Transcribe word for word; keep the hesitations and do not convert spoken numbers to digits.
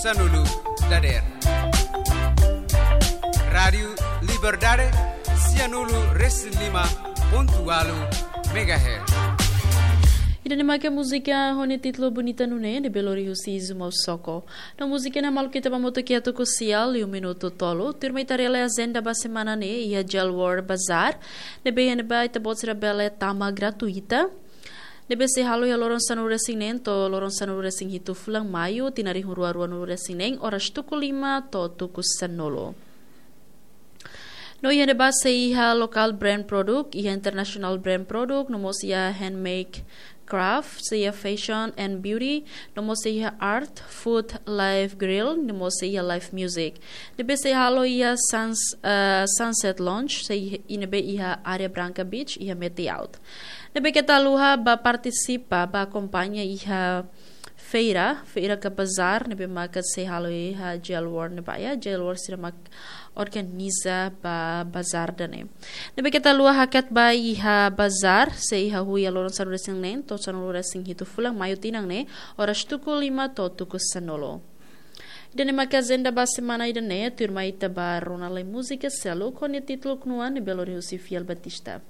Sanulu dader. Rádiu Liberdade, sianulu resin lima pontu walu megahertz. Ida-ne'e maka múzika ho nia títulu Bonita Nune'e, ne'ebé lori husi Izu Mausoko. No múzika ne'e maluk ita ba moto kiatu ku sial, liu minutu tolu, tuirmai ita haree lai ajenda ba semana ne'e, iha Jail World Bazar, ne'ebé iha ne'ebá ita-boot sira bele tama gratuita. Ne'ebé sei halo iha loron sanulu resin neen to'o loron sanulu resin hitu fulan Maiu, tinan rihun rua ruanulu resin neen, oras tuku lima to'o tuku sanulu. No iha ne'ebá sei iha local brand produk, iha international brand produk, no mós iha handmade craft, sei iha fashion and beauty, no mós sei iha art, food, live grill, no mós sei iha live music. Ne'ebé sei halo iha Suns-, eh, Sunset Lounge, sei iha, i ne'ebé iha área Branca Beach, iha Meti-Out. Ne'ebé keta haluha ba partisipa, ba akompaña iha feira, feira ka bazar, ne'ebé maka sei halo iha Jail World ne'ebá, iha Jail World sira mak organiza ba bazar ida-ne'e. Ne'ebé keta haluha hakat ba iha bazar, sei iha hahú iha loron sanulu resin neen to'o sanulu resin hitu fulan Maiu tinan ne'e, oras tuku lima to'o tuku sanulu. Ida-ne'e maka ajenda ba semana ida-ne'e, tuirmai ita ba rona lai múzika seluk ho nia títulu Knuan, ne'ebé lori husi Fiel Batista.